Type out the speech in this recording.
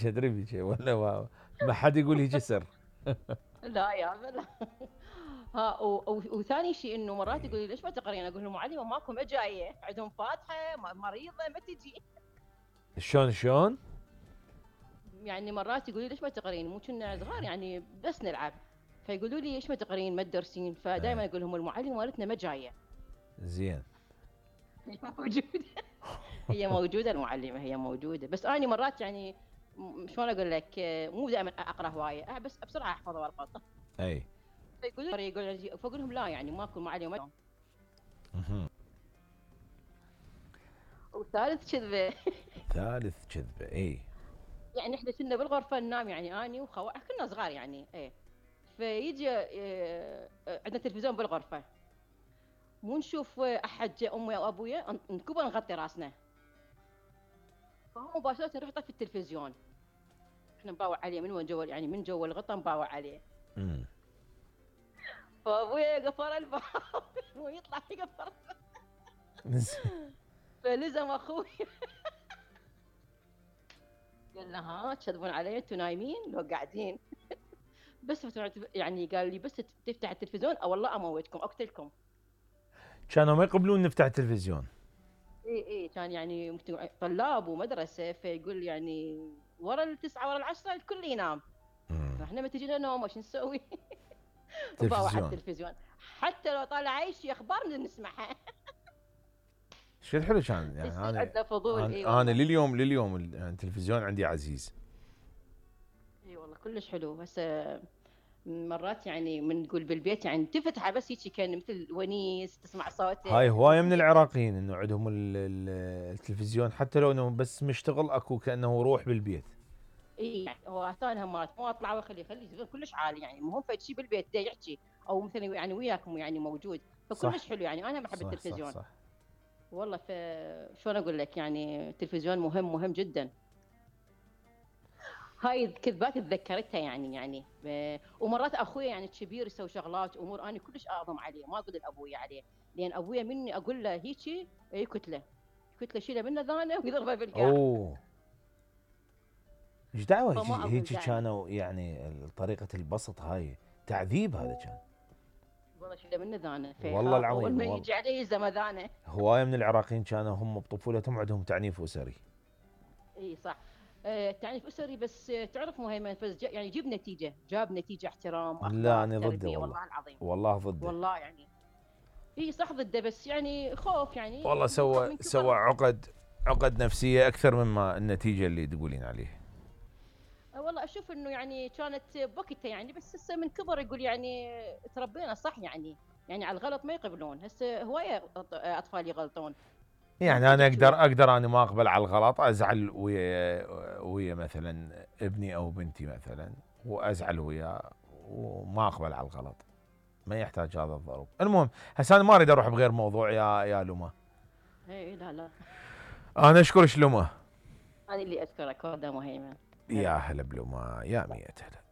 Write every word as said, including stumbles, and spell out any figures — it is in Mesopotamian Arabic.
بيك ادري بيك ولا ما, ما حد يقول هيك سر. لا يا لا. ها وثاني شيء انه مرات يقول لي ليش ما تقرين؟ اقول له معلمه ماكو ما جايه، عندهم فاتحه مريضه ما تجي. شلون شلون؟ يعني مرات يقولوا لي ليش ما تقرين؟ مو كنا صغار يعني بس نلعب، فيقولوا لي ليش ما تقرين ما تدرسين؟ فدائما اقول لهم المعلمه مالتنا ما جايه. زين. هي موجوده. هي موجوده المعلمه، هي موجوده، بس انا مرات يعني شلون اقول لك، مو دائما اقرا هوايه، بس بسرعه احفظ والقط. اي. فيقولوا لي يقول فاقول لهم لا يعني ماكو معلمه. اها. وثالث كذبه. ثالث كذبه. اي. يعني احنا كنا بالغرفه ننام يعني اني وخوا كنا صغار يعني ايه، فيجي اه عندنا تلفزيون بالغرفه، مو نشوف احد جاء امي او ابويا نكبر نغطي راسنا، فهو مباشره نروح نطفي التلفزيون، احنا نباوع عليه من وين جوا يعني من جوا الغطا نباوع عليه. امم. فابويا قفل الباب ويطلع يقفل. فلزم اخوي قال له ها تكذبون علي انتم نايمين لو قاعدين؟ بس يعني قال لي بس تفتح التلفزيون او والله اموتكم اقتلكم. كانوا ما يقبلون نفتح التلفزيون. اي اي كان يعني طلاب ومدرسه، فيقول يعني ورا التسعه ورا العشره الكل ينام، فاحنا ما تجينا نوم وش نسوي؟ باوع على التلفزيون حتى لو طالع اي شيء اخبار نسمعها. شو الحلو كان يعني انا فضول. انا, إيه أنا لليوم لليوم التلفزيون عندي عزيز. اي أيوة والله كلش حلو. هسه مرات يعني من نقول بالبيت يعني تفتحه بس هيك كان مثل ونيس تسمع صوته. هاي هوايه من العراقيين انه عندهم التلفزيون حتى لو انه بس مشتغل اكو كانه روح بالبيت. اي يعني هو ثاني مرات مو اطلع واخليه خليه كلش عالي يعني مو فد شيء بالبيت دا يحكي او مثلا يعني وياكم يعني موجود، فكلش حلو يعني انا بحب التلفزيون. صح صح. والله ف شلون اقول لك يعني التلفزيون مهم مهم جدا. هاي الكذبات تذكرتها يعني يعني ب... ومرات اخوي يعني الكبير يسوي شغلات امور انا كلش اعظم عليه ما اقول لابوي عليه، لان ابويا مني اقول له هيجي يكتله كتله شيله منه ذانه ويضربه بالقاع. اوه ايش دعوه فما هيك اقول كانوا يعني طريقه البسط هاي تعذيب هذا كان. والله شيله منه ذانه والله العظيم اول ما يجي عليه زمذانه. هوايه من العراقيين كانوا هم بطفولتهم عندهم تعنيف اسري. اي صح. آه تعنيف اسري بس آه تعرف مهيمن بس يعني جيب نتيجه جاب نتيجه احترام اخلاق لا انا ضده والله. والله العظيم والله ضده. والله يعني اي صح ضده بس يعني خوف يعني والله سوى سوى عقد عقد نفسيه اكثر مما النتيجه اللي تقولين عليه. والله اشوف انه يعني كانت بوقتها يعني بس هسه من كبر يقول يعني تربينا صح يعني يعني على الغلط ما يقبلون، هسه هوايه اطفال يغلطون. يعني انا اقدر اقدر انا ما اقبل على الغلط ازعل ويا ويا مثلا ابني او بنتي مثلا وازعل وياه وما اقبل على الغلط، ما يحتاج هذا الضرب. المهم هسه انا ما اريد اروح بغير موضوع يا يا لما. اي لا لا انا اشكرك لما. انا اللي اشكرك هذا مهيمن. يا هلا بلما يا مية هلا.